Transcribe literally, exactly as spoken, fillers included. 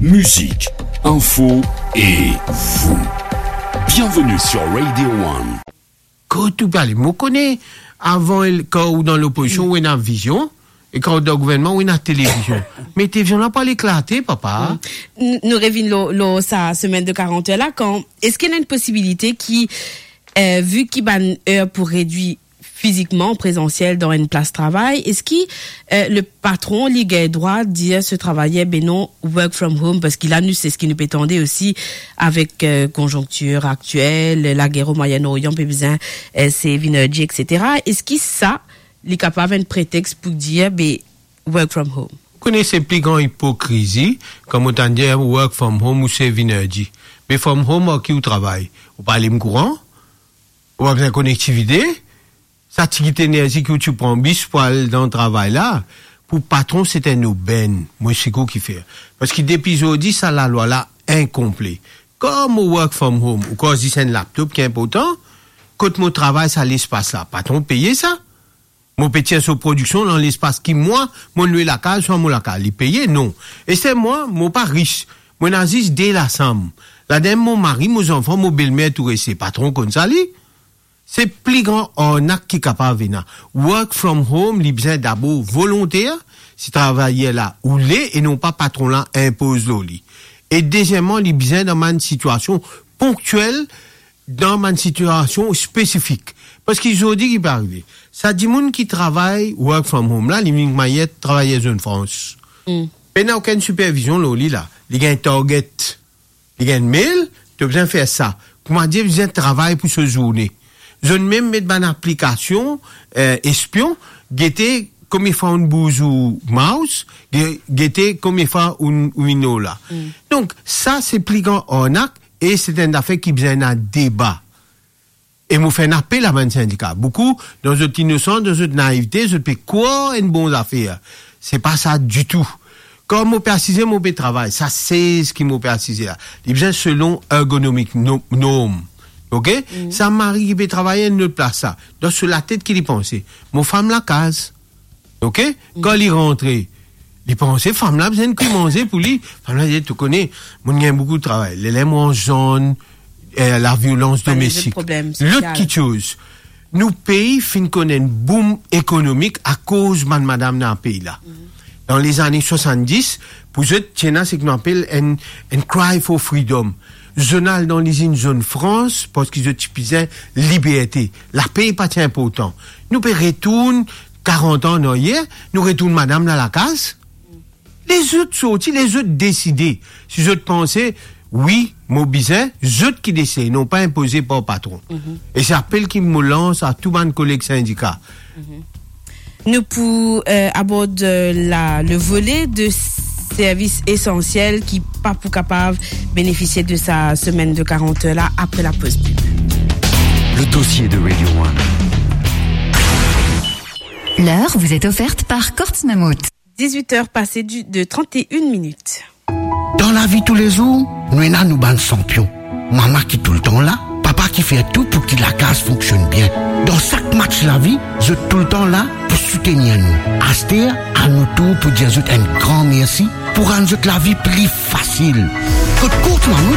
Musique, info et vous. Bienvenue sur Radio One. Kot ou pe ale? Mo kone, avan, kan ou dan lopozision, ou ena vizion, e kan ou dan gouvernman, ou ena televizion. Me televizion la pou al eklate, papa. Mm. N-, nou revinn lor, lor sa semaine de quarante heures la, kan, eski ena enn posibilite ki, eh, vi ki bann er pou redwir fizikman, prezansiel dan enn plas travay, eski, eh, le patron, li gagn drwa dir so travayer, be non, work from home, parski la, nou, se seki nou pe tande osi avek, eh, konjonktir aktiel, lager o Moyen-Orient, pe bizin, eh, save energy, et cetera. Eski sa, li kapav enn pretex pou dir, be, work from home? Ou kone se pli gran ipokrizi, kan mo tann dir work from home ou save energy. Me from home ar ki ou travay? Ou pa alim kouran? Ou pa bizin konektivite? Sa ti kit enerzi ki ou ti pran bis pou al dan travay la, pou patron se enn obenn, mo seki ou kifer. Parski depi zordi, sa lalwa la inkonple. Kan mo work from home, ou krwar zis enn laptop ki inportan, kot mo travay sa lespas la, patron peye sa? Mo pe tir so prodiksion dan lespas ki mwa, mo lwe lakaz, swa mo lakaz, li peye? Non. E se mwa, mo pa ris. Mo ena zis de lasam. Ladan mo mari, mo zanfan, mo belmer, tou reste. Patron konn sa li? Se pli gran arnak ki kapav ena. Work from home, li bizin dabor volonter, si travayer la oule, e non pa patron la inpoz lor li. E dezieman, li bizin dan bann sitiasion ponktiel, dan bann sitiasion spesifik. Parski zordi ki pe arive, sa dimoun ki travay work from home la, li vinn kouma enn travayer Zone France. Mm. Pena okenn sipervizion lor li la. Li gagn target, li gagn mail, to bizin fer sa. Koumadir bizin travay pou so zourne. Zot mem met bann aplikasion, eh, espion, gete konbien fwa ou'nn bouz ou mouse, ge-, gete konbien fwa ou'nn, ou'nn ena la. Mm. Donk, sa se pli gran arnak, e se enn zafer ki bizin ena deba. E mo fer enn apel a bann sindika. Boukou, dan zot inosans, dan zot naivite, zot pe krwar enn bon zafer. Se pa sa ditou. Kan mo pe asize, mo pe travay. Sa sez ki mo pe asize la, li bizin selon ergonomik no-, norm. Oke? Mm. Sa mari ki pe travay enn lot plas la, dan so latet ki li panse? Mo fam lakaz. Oke? Mm. Kan li rantre, li panse fam la bizin kwi manze pou li. Fam la dir, to kone, mo'nn gagn boukou travay. Lerla mo anzann, eh, laviolans domestik. Bann lezot problem sosial. Lot kiksoz, nou pei finn konn enn boom ekonomik akoz bann madam dan pei la. Mhm. Dan lezane swasanndis, pou zot, ti ena seki nou apel enn, enn cry for freedom. Zot al dan lizinn Zone France, parski zot ti bizin liberte. Lape pa ti inportan. Nou pe retourn karant an an aryer, nou retourn madam la lakaz. Lezot sorti, lezot deside. Si zot panse, wi, mo bizin, zot ki deside, non pa inpoze par patron. Mhm. E se apel ki mo lans a tou bann koleg sindika. Mhm. Nou pou, eh, abord, eh, la, le volet de services essentiels ki pa pou kapav benefisie de sa semaine de quarante heures la apre lapoz pib. Le dossier de Radio One. L'heure vous est offerte par Courts Mammouth. Dix-huit heures passées du, de trente et une minutes. Dan lavi toulezour, nou ena nou bann sanpion. Mama ki toultan la, papa ki fer tou pou ki lakaz fonksionn bien. Dan sak match lavi, zot toultan la pou soutenir nou. Aster, a nou tour pou dir zot enn gran mersi pou rann zot lavi pli fasil. Kot Courts Mammouth,